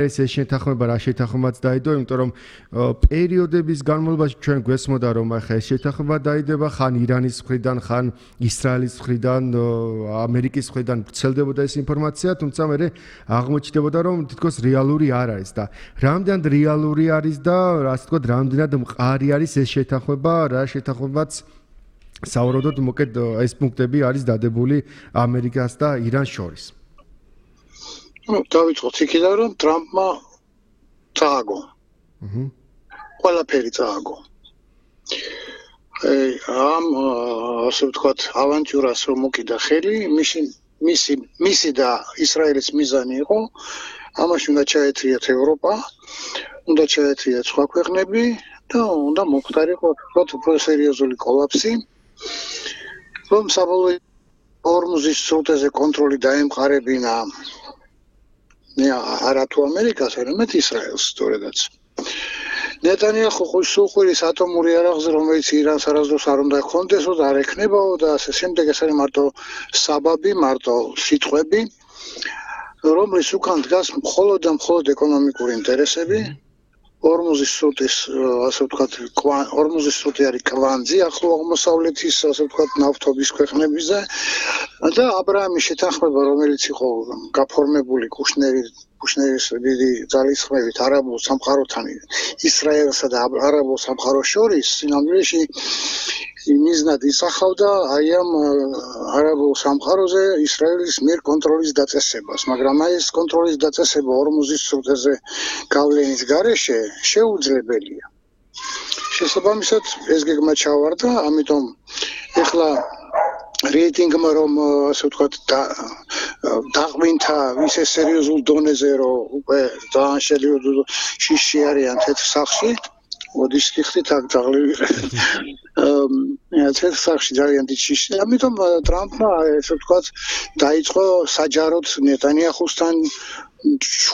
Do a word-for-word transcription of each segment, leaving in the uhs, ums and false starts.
ეს შეთანხმება რა შეთანხმებაც დაიდო, იმიტომ რომ პერიოდების განმავლობაში ჩვენ გვესმოდა რომ ახლა ეს შეთანხმება დაიდება, ხან ირანის მხრიდან, ხან ისრაელის მხრიდან, ამერიკის მხრიდან ვრცელდებოდა ეს ინფორმაცია, თუმცა მე აღმოჩნდებოდა რომ თითქოს რეალური არ არის და რამდენად რეალური არის და ასე ვთქვათ, რამდენად მყარი არის ეს შეთანხმება, რა შეთანხმებაც საუბრობთ, მოკეთ ეს პუნქტები არის დადებული ამერიკას და ირანს შორის. დავიწყოთ იქიდან რომ ტრამპმა წააგო. აჰა. ყველაფერი წააგო. ამ ასე ვთქვათ, ავანტიურას რომ მოკიდა ხელი, მისი მისი მისი და ისრაელის მიზანი იყო, ამაში უნდა ჩაეთრიათ ევროპა, უნდა ჩაეთრიათ სხვა ქვეყნები და უნდა მოხდარიყო ვთქვათ, უფრო სერიოზული კოლაფსი, რომ საბოლოო ორმუზის სრუტეზე კონტროლი დაემყარებინა არა თუ ამერიკას, არამედ ისრაელს სწორედაც. ნეტანიაჰუ ხუშუხურის ატომური იარაღზე, რომელიც ირანს არასდროს არ უნდა ჰქონდესო და არ ექნებაო და ასე შემდეგ, ეს არის მარტო საბაბი, მარტო სიტყვები, რომლის უკან დგას მხოლოდ და მხოლოდ ეკონომიკური ინტერესები. ორმუზის სრუტის, ასე ვთქვათ, ორმუზის სრუტი არის კვანძი ახლო აღმოსავლეთის, ასე ვთქვათ, ნავთობის ქვეყნებიზე და აბრაამის შეთანხმება, რომელიც იყო გაფორმებული კუშნერის კუშნერის დიდი ძალისხმევით არაბულ სამყაროთან ისრაელსა და არაბულ სამყაროს შორის, სინამდვილეში მიზნად ისახავდა აი ამ არაბულ სამყაროზე ისრაელის მიერ კონტროლის დაწესებას, მაგრამ აი ეს კონტროლის დაწესება ორმუზის სრუტეზე გავლენის გარეშე შეუძლებელია. შესაბამისად, ეს გეგმა ჩავარდა, ამიტომ ეხლა რეიტინგმა რომ ასე ვთქვათ დაღვინთა ისე სერიოზულ დონეზე, რომ უკვე ძალიან შეიძლება შიში არიან თეთრ სახლში, მოდის ხიხით აქ დაღლილი. აა თეთრ სახლში ძალიან დიდი შიში. ამიტომ ტრამპმა ასე ვთქვათ დაიწყო საჯაროდ ნეტანიაჰუსთან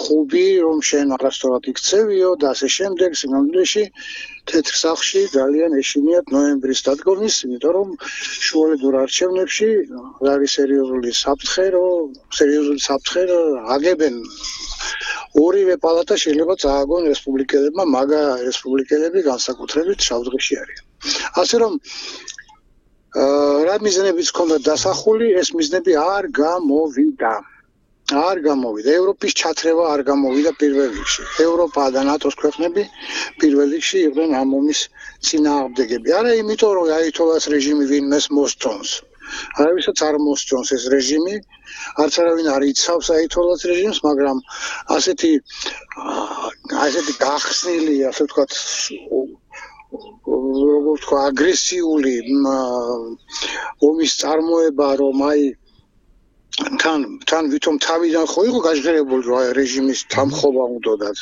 ხუბი, რომ შენ არასდროს იქცევიო და ასე შემდეგ, სინამდვილეში თეთრ სახლში ძალიან ეშინიათ ნოემბრის დადგომის, იმიტომ რომ შუალედურ არჩევნებში არის სერიოზული საფრთხე, რომ სერიოზული საფრთხე აგებენ ორივე პალატა შეიძლება წააგონ რესპუბლიკელებმა, მაგა რესპუბლიკელები განსაკუთრებით შავდღეში არიან. ასე რომ რა მიზნებიც ჰქონდა დასახული, ეს მიზნები არ გამოვიდა. არ გამოვიდა. ევროპის ჩათრევა არ გამოვიდა პირველ რიგში. ევროპა და ნატოს ქვეყნები პირველ რიგში იყვნენ ამ ომის წინააღმდეგები. არა იმიტომ, რომ აითოლას რეჟიმი ვინმეს მოსწონს. არავისაც არ მოსწონს ეს რეჟიმი, არც არავინ არ იცავს აითოლას რეჟიმს, მაგრამ ასეთი ასეთი გახსნილი, ასე ვთქვათ, როგორ ვთქვა, აგრესიული ომის წარმოება, რომ აი თან თან ვითომ თავიდან ხო იყო გაჟღერებული რომ რეჟიმის დამხობა უნდათ,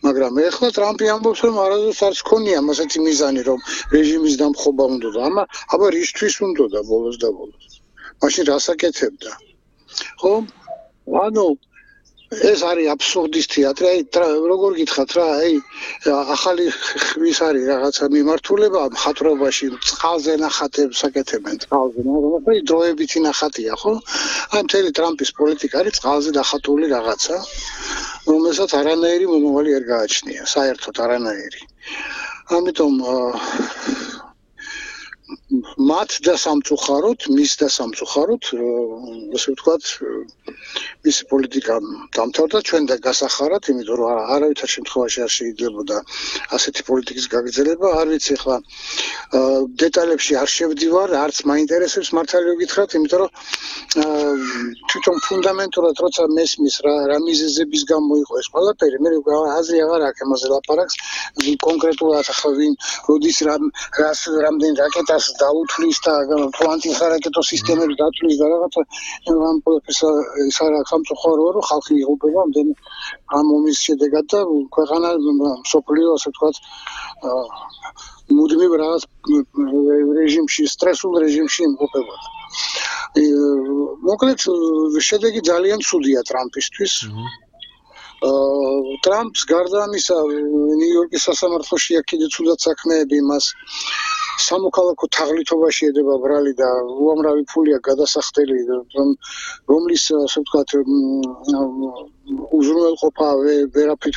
მაგრამ ეხლა ტრამპი ამბობს რომ არასდროს არც ქონია ასეთი მიზანი რომ რეჟიმის დამხობა უნდათ. ამა აბა რისთვის უნდოდა ბოლოს და ბოლოს. მაშინ რას აკეთებდა? ხო? ანუ ეს არის აბსურდის თეატრი. აი როგორ გითხრათ რა, აი ახალი ხვის არის რაღაცა მიმართულება მხატვრობაში, წყალზე ნახატებს აკეთებენ, წყალზე, მაგრამ აი დროებითი ნახატია, ხო? აი მთელი ტრამპის პოლიტიკა არის წყალზე ნახატული რაღაცა, რომელსაც არანაირი მომავალი არ გააჩნია, საერთოდ არანაირი. ამიტომ მათ და სამწუხაროდ, მის და სამწუხაროდ, ასე ვთქვათ, მისი პოლიტიკა დამთავრდა ჩვენ და გასახარად, იმიტომ რომ არავითარ შემთხვევაში არ შეიძლებოდა ასეთი პოლიტიკის გაგრძელება. არ ვიცი ახლა დეტალებში არ შევდივარ, არც მაინტერესებს მართალი გითხრათ, იმიტომ რომ თვითონ ფუნდამენტურად როცა მესმის რა მიზეზების გამო იყო ეს ყველაფერი, მე აზრი აღარ აქვს ამაზე ლაპარაკს, კონკრეტულად ახლა ვინ როდის რას რამდენ რაკეტას დაუთვლის და ანტირაკეტო სისტემებს დათვლის და რაღაცა ამ ყველაფერს ის არა სამწუხაროა რომ ხალხი იღუპება ამდენი ამ ომის შედეგად და ქვეყანა მსოფლიო ასე ვთქვათ მუდმივ რაღაც რეჟიმში, სტრესულ რეჟიმში იმყოფებოდა. მოკლედ შედეგი ძალიან ცუდია ტრამპისთვის. ტრამპს გარდა ამისა ნიუ-იორკის სასამართლოში აქ კიდე ცუდად საქმეები მას სამოქალაქო თაღლითობაში ედება ბრალი და უამრავი ფულია გადასახდელი, რომლის ასე ვთქვათ უზრუნველყოფა ვერაფრით